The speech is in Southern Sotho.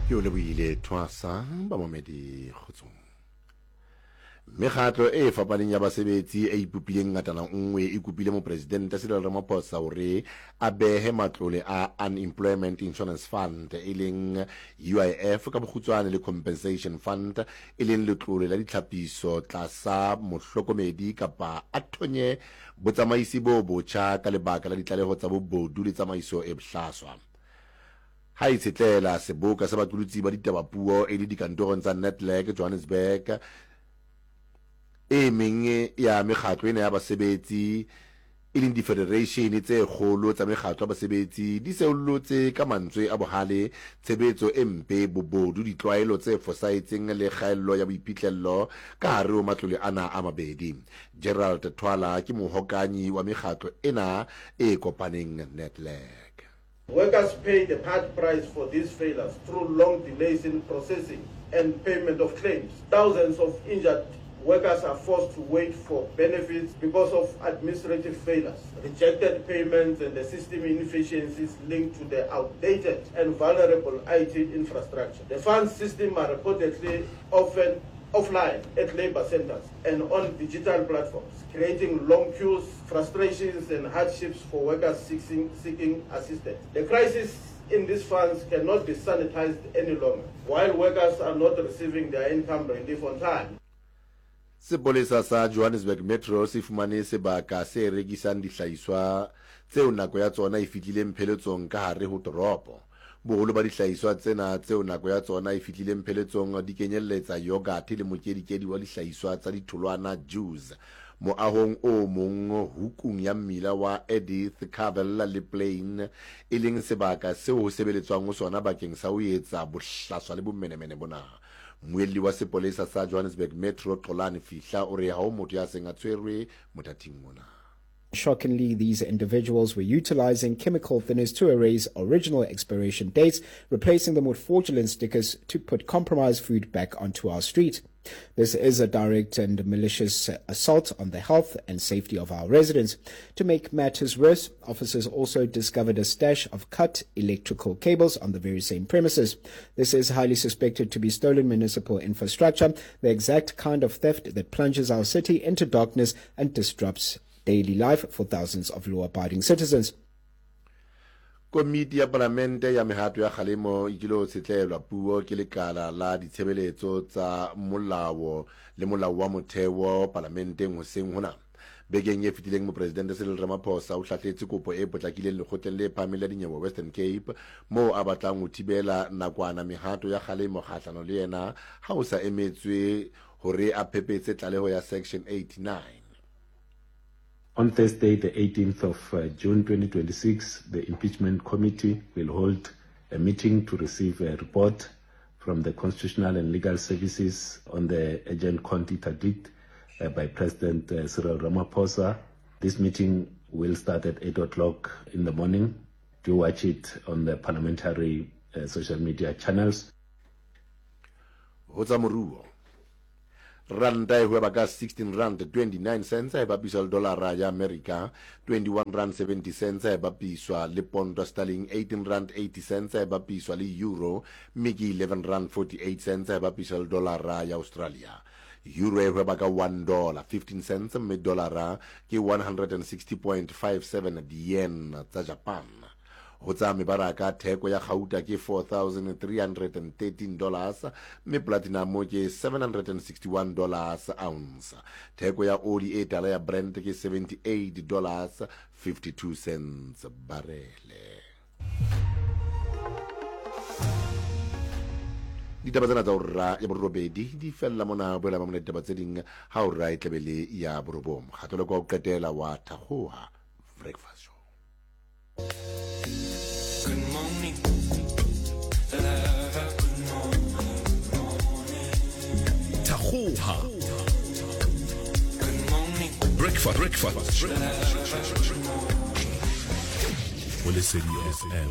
Ke o lebohile thwasa bamamedi kgotsong. Mekgatlo e fapaneng ya basebetsi e ipopileng ngatana nngwe e kopile Mopresidente Cyril Ramaphosa hore a behe matlole a Unemployment Insurance Fund e leng UIF ka bokgutswane le Compensation Fund e leng letlole la ditlhapiso tlasa mohlokomedi kapa a thonye botsamaisi bo botjha ka lebaka la ditlaleho tsa bobodu le tsamaiso e bohlaswa. Ha e tshetlela seboka sa baqolotsi ba ditaba puo e le dikantorong tsa Nedlac Johannesburg, e meng ya mekgatlo ena ya basebetsi e leng difedereishene tse kgolo tsa mekgatlo ya basebetsi di seollotse ka mantswe a bohale tshebetso e mpe, bobodu, ditlwaelo tse fosahetseng le kgaello ya boiphihlello ka hare ho matlole ana a mabedi. Gerald Thwala ke mohokanyi wa mekgatlo ena e kopaneng Nedlac. Workers pay the hard price for these failures through long delays in processing and payment of claims. Thousands of injured workers are forced to wait for benefits because of administrative failures, rejected payments and the system inefficiencies linked to the outdated and vulnerable IT infrastructure. The fund system are reportedly often offline at labor centers and on digital platforms, creating long queues, frustrations and hardships for workers seeking, seeking assistance. The crisis in these funds cannot be sanitized any longer while workers are not receiving their income relief on time. Sepolesa sa Johannesburg Metro se fumane sebaka se rekisang dihlahiswa tseo nako ya tsona e fihlileng pheletsong ka hare ho toropo. Boholo ba dihlahiswa tsena tseo nako ya tsona e fihlileng pheletsong di kenyelletsa yogate le mokedikedi wa dihlahiswa tsa ditholwana, juice. Moahong o mong hukung ya mmila wa Edith Cavell le Plein, e leng sebaka seo ho sebeletswang ho sona bakeng sa ho etsa bohlaswa le bomenemene bona. Mmuelli wa sepolesa sa Johannesburg Metro, Xolani Fihla, o re ha ho motho ya seng a tshwerwe mothating ona. Shockingly, these individuals were utilizing chemical thinners to erase original expiration dates, replacing them with fraudulent stickers to put compromised food back onto our street. This is a direct and malicious assault on the health and safety of our residents. To make matters worse, officers also discovered a stash of cut electrical cables on the very same premises. This is highly suspected to be stolen municipal infrastructure, the exact kind of theft that plunges our city into darkness and disrupts daily life for thousands of law-abiding citizens. Komiti ya Palamente ya Mehato ya Kgalemo e kilo tshetlelwa puo ke lekala la ditshebeletso tsa molao le molao wa motheo palamenteng hoseng hona. Bekeng e fetileng Mopresidente Cyril Ramaphosa o hlahletse kopo e potlakileng lekgotleng le phahameng la dinyewe Western Cape moo a batlang ho thibela nakwana mehato ya kgalemo kgahlano le yena ha ho sa emetswe hore a phepetse tlaleho ya Section 89. On Thursday, the 18th of uh, June 2026, the Impeachment Committee will hold a meeting to receive a report from the Constitutional and Legal Services on the urgent court interdict uh, by President uh, Cyril Ramaphosa. This meeting will start at 8 o'clock in the morning. Do watch it on the parliamentary uh, social media channels. Ho tsa moruo, Ranta e hweba ka 16 rand 29 cents ha e bapiswa le dolara ya Amerika, 21 rand 70 cents ha e bapiswa le ponto sterling, 18 rand 80 cents ha e bapiswa le euro, mme ke 11 rand 48 cents ha e bapiswa le dolara ya Australia. Euro e hweba ka 1 dollar 15 cents mme dolara ke 160.57 di-yen tsa Japan. Ho tsa mebaraka, theko ya gauta ke 4,313 dollars mme platinum ke 761 dollars ounce. Theko ya oli e tala ya Brent ke 78 dollars 52 cents barele. Ditaba tsena tsa ora ya borobedi di fella mona boela ba mona ditaba tse ding ha ora e tlabe le ya borobong. Kgatolo kwa ho qetela wa Thakgoha Breakfast Show. Thakgoha Breakfast Breakfast Go Lesedi FM.